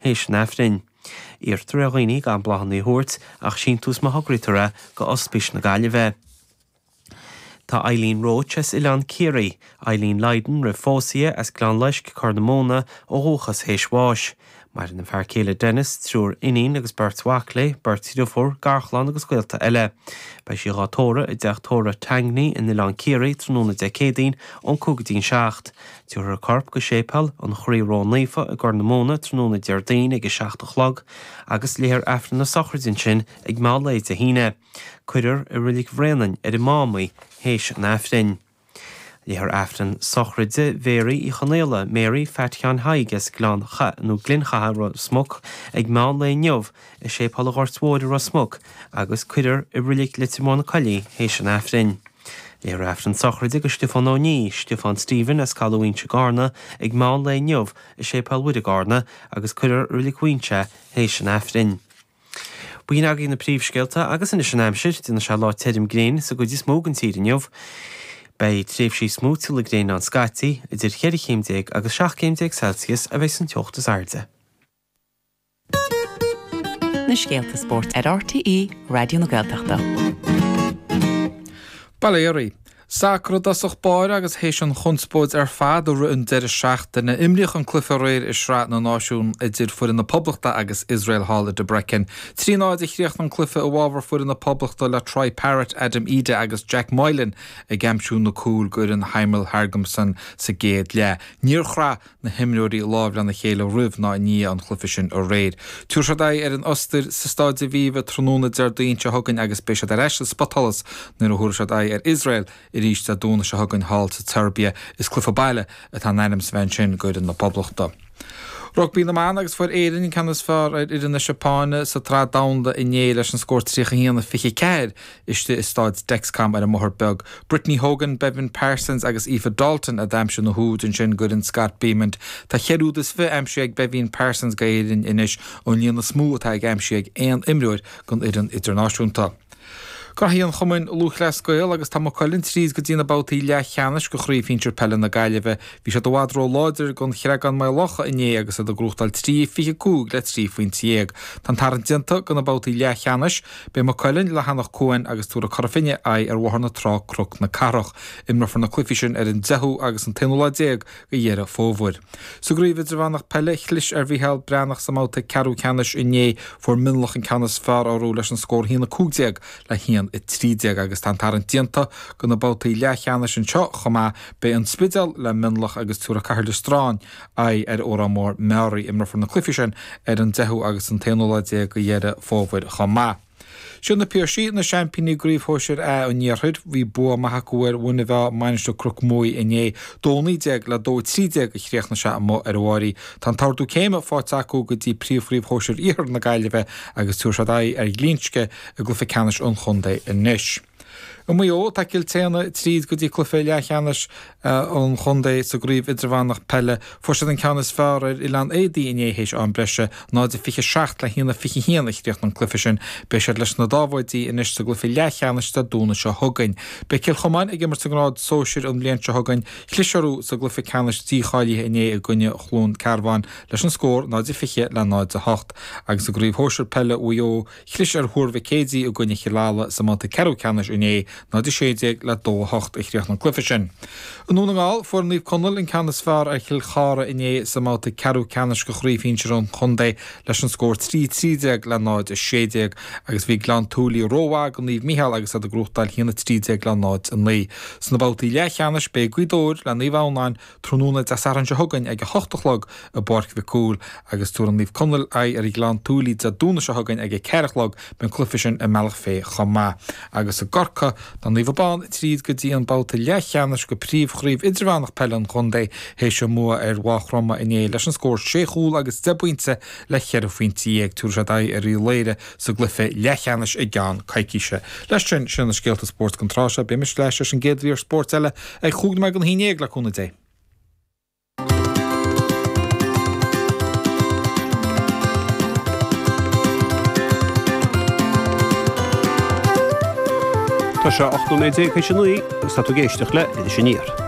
théis an Aifrinn. Iarrtar ar dhaoine gan bláthanna a thabhairt ach síntiús má thograítear é go Ospís na Gaillimhe. Tá Eileen Roche as Oileán Ciarraí, Eileen Lydon roimh phósadh di, as Gleann Loisc, Corr na Móna, ó dhúchas théis bháis. Maireann a fear céile Denis, triúr iníon agus beirt mhac léi, beirt dhriofúr, garchlann agus gaolta eile. Beidh sí dhá tórramh i dteach tórraimh Tangney in Oileán Ciarraí tráthnóna Dé Céadaoin ón 5 go dtí an 7. Tabharfar a corp go Séipéal an Chroí Ró-Naofa i gCorr na Móna tráthnóna Déardaoin ag a 7 a chlog agus léifear Aifreann na sochraide ansin ag meán lae Dé hAoine. Cuirfear i Reilig Bhréanainn ar an Mám í théis an Aifrinn. Léifear Aifreann sochraide Mhéaraí Uí Chonaola, Mary Phat Sheáin Thaidhg as Gleann Cha nó Gleann Chatha, Ros Muc, ag meán lae inniu i Séipéal an Ghoirt Mhóir i Ros Muc agus cuirfear i Reilig Leitir Móir na Coillí théis an Aifrinn. Léifear Aifreann sochraide do Stiofán Ó Ní, Stiofán Stephen as Caladh Mhaínse i gCarna ag meán lae inniu i Séipéal Mhuire i gCarna agus cuirfear i Reilig Mhaínse é théis an Aifrinn. B'in agaibh na príomhscéalta agus anois an aimsir, déanfaidh sé lá tirim gréine sa gcuid is mó den tír inniu. Beidh tréimhsí smúitiúla gréine ann scaití, idir cheithre chéim déag agus 17 céim Celsius a bheidh an teocht is airde. Na scéalta spóirt ar RTÉ Raidió na Gaeltachta. Bail ó Dhia oraibh. Sacar i dtosach báire agus théis an chonspóid ar fad a rith an deireadh seachtaine, imríodh an cluiche aréir i Sraith na Náisiún idir foireann na Poblachta agus Iosrael thall i Debrecen. 3 0 a chríochnaigh an cluiche i bhfabhar foireann na Poblachta le Troy Parrott, Adam Idah agus Jack Moylan ag aimsiú na cúil d'fhoireann Heimir Hallgrímsson sa gcéad leath. Níor chraith na himreoirí lámh lena chéile roimh ná i ndiaidh an chluiche sin aréir. Tabharfaidh siad aghaidh ar an Ostair sa Staid Aviva tráthnóna Déardaoin seo chugainn agus beidh siad ar ais sa spotsholas nuair a thabharfaidh siad aghaidh ar Iosrael arís Dé Domhnaigh seo chugainn thall sa tSeirbia. Is cluiche baile atá in ainm is a bheith ansin d'fhoireann na Poblachta. Rugbaí na mBan agus fuair Éirinn an ceann is fearr ar fhoireann na Seapáine sa tSraith Domhanda inné leis an scór 31-24. Istigh i Stáid Dexcom ar an mBóthar Beag, Brittany Hogan, Beibhinn Parsons agus Aoife Dalton a d'aimsigh na húid ansin d'fhoireann Scott Bemand. Tá cheithre úd is fi aimsithe ag Beibhinn Parsons d'Éirinn anois, an líon is mó atá ag aimsithe ag aon imreoir don fhoireann idirnáisiúnta. Graithí an Chumainn Lúthchleas Gael agus tá Maigh Cuilinn tríd go dtí na babhtaí leathcheannais de Chraobh Shinsir Peile na Gaillimhe. Bhí siad i bhfad ró-láidir don Chreagán Maigh Locha inné agus iad ag gnóthachtáil 3, 25 le 13 phointe. Tá an tarraingt déanta do na babhtaí leathcheannais. Beidh Maigh Cuilinn le hEanach Cuain agus tabharfaidh Cora Finne aghaidh ar Bhóthar na Trá Cnoc na Cathrach. Imreofar na cluichí sin ar an 10ú agus an t-aonú lá déag de Dheireadh Fómhair. Sa gCraobh Idirmheánach Peile, chlis ar Mhícheál Breathnach sa mbabhta ceathrú ceannais inné. Fuair Mionlach an ceann is fearr orthu leis an scór 1-15 le 1-13 agus tá an tarraingt déanta do na babhtaí leathcheannais anseo chomh maith. Beidh An Spidéal le Mionlach agus tabharfaidh Caherlistrane aghaidh ar Órán Mór Meáraí. Imreofar na cluichí sin ar an 10ú agus an t-aonú lá déag de Dheireadh Fómhair chomh maith. Siad na Piarsaigh na seaimpíní i gCraobh Shóisir A an Iarthair. Bhí bua maith acu ar Mhuine Mheá, Mainistir Chnoc Muaidh inné. 2-19 le 2-13 a chríochnaigh sé amuigh ar an Bháirí. Tá an t-ardú céime faighte acu go dtí Príomhchraobh Shóisir Iarthar na Gaillimhe agus tabharfaidh siad aghaidh ar Ghlinsce i gcluiche ceannais an chontae anois. I Maigh Eo, tá Cill tSéadhna tríd go dtí cluiche leathcheannais an chontae sa gcraobh idirmheánach peile. Fuair siad an ceann is fearr ar Oileán Éadaí inné théis am breise, 0-27 le 1-21 a chríochnaigh an cluiche sin. Beidh siad leis na Dáibhéidí anois sa gcluiche leathcheannais Dé Domhnaigh seo chugainn. Beidh Cill Chomáin ag imirt sa ngrád sóisir an bhliain seo chugainn. Chlis orthu sa gcluiche ceannais dícháilithe inné i gcoinne Chluain Cearbán leis an scór 0-20 le 0-8. Agus i gcraobh shóisir peile Mhaigh Eo, Chlis ar Thuar Mhic Éadaigh i gcoinne Chill Ala sa mbabhta ceathrú ceannais inné, 0-16 le 2-8 a chríochnaigh an cluiche sin. I nDún na nGall, fuair Naomh Conaill an ceann is fearr ar Chill Chartha inné sa mbabhta ceathrú ceannais de Chraobh Shinsir an chontae leis an scór 3-13 le 0-16 agus bhí Gleann tSúilí rómhaith do Naomh Micheál agus iad ag gnóthachtáil 1-13 le 0-9. Sna babhtaí leathcheannais beidh Gaoth Dobhair le Naomh Adhamhnáin Tráthnóna Dé Sathairn seo chugainn ag 8 a chlog i bPáirc Mhic Cumhaill agus tabharfaidh Naomh Conaill aghaidh ar Ghleann tSúilí Dé Domhnaigh seo chugainn ag 4 a chlog. Beidh an cluiche sin i mBealach Féich chomh maith. Agus i gCorcaigh, tá Naomh Abán tríd go dtí an babhta leathcheannais de Phríomhchraobh Idirmheánach Peile an chontae théis a mbua ar Mhaigh Chromtha inné leis an scór sé chúl agus deich bpointe le cheithre phointe dhéag. Tabharfaidh siad aghaidh ar Uíbh Laoire sa gcluiche leathcheannais i gceann coicíse. Leis sin, sin na scéalta spóirt don tráth seo. Beidh mise ar ais leis an gcéad mhír spóirt eile ag chúig nóiméad don haon dhéag, le cúnamh Dé. Tá sé 18 nóiméad théis a 9 agus tá tú ag éisteacht le Iris Aniar.